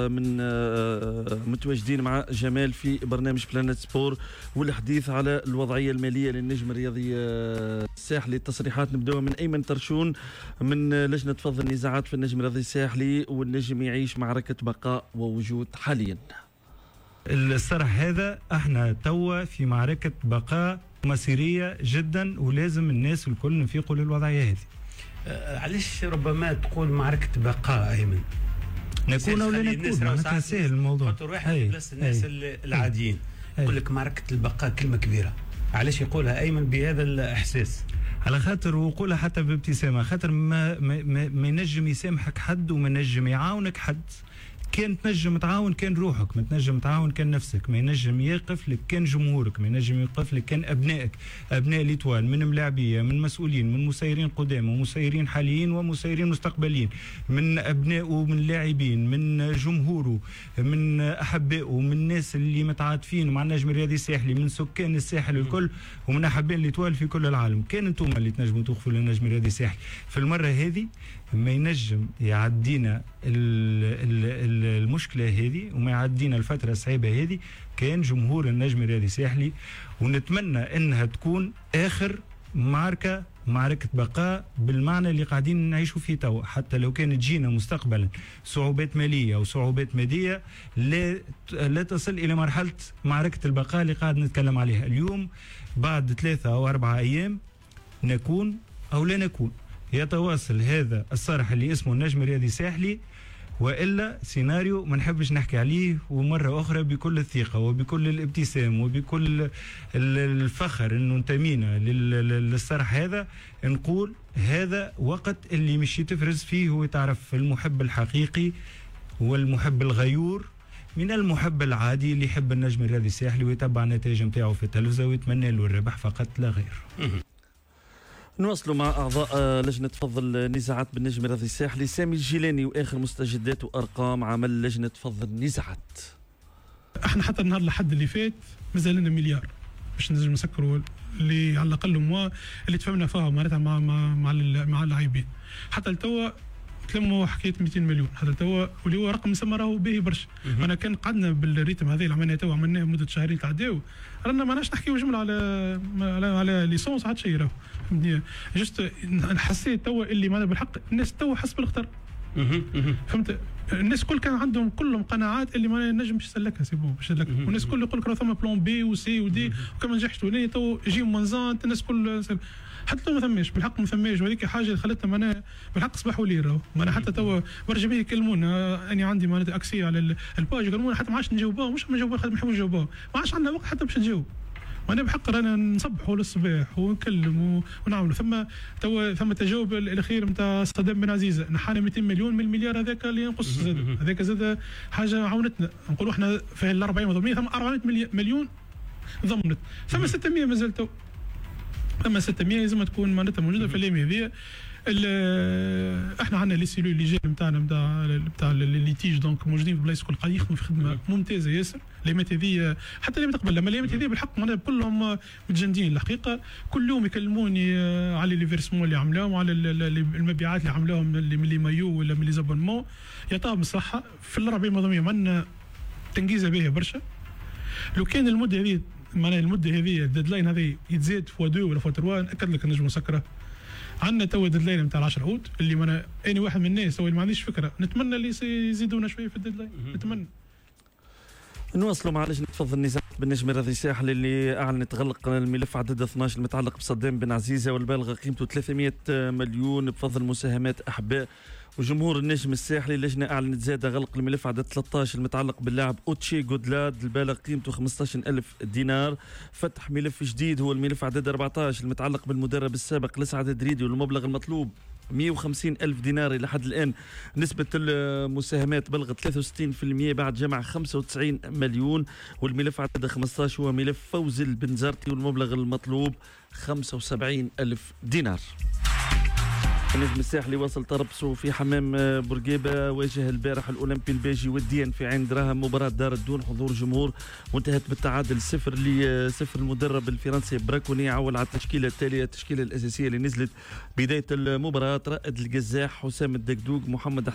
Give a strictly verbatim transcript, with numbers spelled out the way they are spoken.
من آه، متواجدين مع جمال في برنامج بلانت سبور والحديث على الوضعية المالية للنجم الرياضي آه، الساحلي. التصريحات نبداها من ايمن ترشون من لجنة فض النزاعات في النجم الرياضي الساحلي، والنجم يعيش معركة بقاء ووجود حاليا. الصرح هذا احنا توا في معركة بقاء مصيرية جدا، ولازم الناس الكل نفيقوا للوضعيه هذه. أه، علاش ربما تقول معركة بقاء ايمن؟ نكون او لا نكون، معناتها سهل الموضوع. خاطر واحد بلاصة الناس العاديين يقول لك معركة البقاء كلمة كبيره، علاش يقولها ايمن بهذا الاحساس؟ على خاطر، وقولها حتى بابتسامه، خاطر ما ما, ما, ما ينجم يسامحك حد وما ينجم يعاونك حد. كان تنجم تعاون كان روحك، ما تنجم تعاون كان نفسك، ما ينجم يقف لك كان جمهورك، ما ينجم يقف لك كان ابنائك، ابناء l'Étoile، من ملاعبيه، من مسؤولين، من مسيرين قدام ومسيرين حاليين ومسيرين مستقبليين، من ابنائه، من لاعبين، من جمهوره، من احبائه، من الناس اللي متعاطفين مع النجم الرياضي الساحلي، من سكان الساحل الكل، ومن احباء l'Étoile في كل العالم. كان انتم اللي تنجموا توقفوا للنجم الرياضي الساحلي في المرة هذه. ما ينجم يعدينا المشكلة هذه وما يعدينا الفترة الصعيبه هذه كان جمهور النجم الرياضي الساحلي، ونتمنى انها تكون اخر معركه، معركة بقاء بالمعنى اللي قاعدين نعيشوا فيه توا، حتى لو كانت تجينا مستقبلا صعوبات مالية أو صعوبات مادية لا لا تصل إلى مرحلة معركة البقاء اللي قاعد نتكلم عليها اليوم. بعد ثلاثة أو أربعة أيام نكون أو لا نكون، يتواصل هذا الصرح اللي اسمه النجم الرياضي الساحلي، والا سيناريو ما نحبش نحكي عليه. ومرة اخرى بكل الثقة وبكل الابتسام وبكل الفخر انه انتمينا للصرح هذا، نقول هذا وقت اللي مش تفرز فيه وتعرف المحب الحقيقي والمحب الغيور من المحب العادي اللي يحب النجم الرياضي الساحلي ويتبع النتائج نتاعو في التلفزة ويتمنى له الربح فقط لا غير. نواصلوا مع اعضاء آه، لجنة فض النزاعات بالنجم الرياضي الساحلي، سامي الجيلاني واخر مستجدات وارقام عمل لجنة فض النزاعات. احنا حتى النهار لحد اللي فات مازال لنا مليار باش نجم نسكروا اللي على الاقل موا اللي تفهمنا فيها معناتها مع مع مع, مع اللاعبين. حتى لتوا تلموا حكاية مئتين مليون حتى توا، واللي هو رقم نسمى راهو باهي برشا. انا كان قعدنا بال rythme هذا اللي عملناه توا، عملناه مده شهرين تعداو، رانا ما نحكيو جملة على على على licence حتى شيء راهو، فهمتني؟ juste حسيت توا اللي معناها بالحق الناس توا حس بالخطر، فهمت؟ الناس الكل كان عندهم كلهم قناعات اللي ما نجم باش يسلكها، c'est bon باش يسلكها، والناس الكل يقول لك راه ثم plan B و C و D، وكان ما نجحش تو J moins un. الناس الكل حتى لو ما ثماش، بالحق ما ثماش. وهذيك حاجة اللي خلتنا معناها بالحق صباح وليل راهو معناها حتى توا برشا بيه يكلمونا، اني عندي معناتها accès على ال page، يكلمونا حتى ما عادش نجاوبوهم، مش ما نجاوبوهم خاطر ما نحبوش نجاوبوهم، ما عادش عندنا وقت حتى باش نجاوب. وانا بحق رانا نصبحوا للصباح ونكلم ونعملوا. ثم توا ثم تجاوب الاخير نتاع صدام بن عزيزه، نحانا مئتين مليون من المليار هذاك اللي ينقص زاد، هذاك زاد حاجة عاونتنا. نقولوا احنا في ال أربعين مضمين ثم أربعمية مليون ضمنت، ثم ستمية مازال تو، ثم ستمية لازم تكون معناتها موجودة في الايام هذه. احنا عندنا les cellules légales نتاعنا نتاع نتاع les litiges، donc موجودين في بلايص الكل، قاعدين يخدموا في خدمة ممتازة ياسر. الايامات هذه، حتى الايامات قبل، لما الايامات هذه بالحق معناها كلهم متجندين الحقيقه. كل يوم يكلموني على les versements اللي عملوهم وعلى المبيعات اللي عملوهم من les maillots ولا من les abonnements. يعطيهم الصحه. في الأربعين مضامين عندنا تنجيزه باهيه برشا. لو كان المدة هذه، معناها المدة هذه، ال deadline هذه يتزاد fois deux ولا fois trois، ناكد لك نجم نسكره. عندنا توا deadline نتاع عشرة اوت اللي معناها اني واحد من الناس اللي ما عنديش فكره، نتمنى اللي يزيدونا شوية في ال deadline، نتمنى. نواصلوا مع لجنة فض النزاعات بالنجم الرياضي الساحل اللي أعلنت غلق الملف عدد اثناش المتعلق بصدام بن عزيزة والبالغ قيمته ثلاثمية مليون بفضل مساهمات أحباء وجمهور النجم الساحلي. اللجنة أعلنت زاد غلق الملف عدد ثلاثة عشر المتعلق باللاعب أوتشي جودلاد البالغ قيمته خمسة عشر ألف دينار. فتح ملف جديد هو الملف عدد أربعة عشر المتعلق بالمدرب السابق لسعد دريدي والمبلغ المطلوب مية وخمسين ألف دينار. إلى حد الآن نسبة المساهمات بلغت ثلاثة وستين في المية بعد جمع خمسة وتسعين مليون. والملف عدد خمسة عشر هو ملف فوز البنزرتي والمبلغ المطلوب خمسة وسبعين ألف دينار. النجم الساحلي وصل تربصه في حمام بورقيبة، واجه البارح الأولمبي الباجي وديا في عين دراهم، مباراة دارت دون حضور جمهور وانتهت بالتعادل صفر لصفر. المدرب الفرنسي براكوني عول على التشكيلة التالية، التشكيلة الأساسية اللي نزلت بداية المباراة: رائد القزاح، حسام الدقدوق، محمد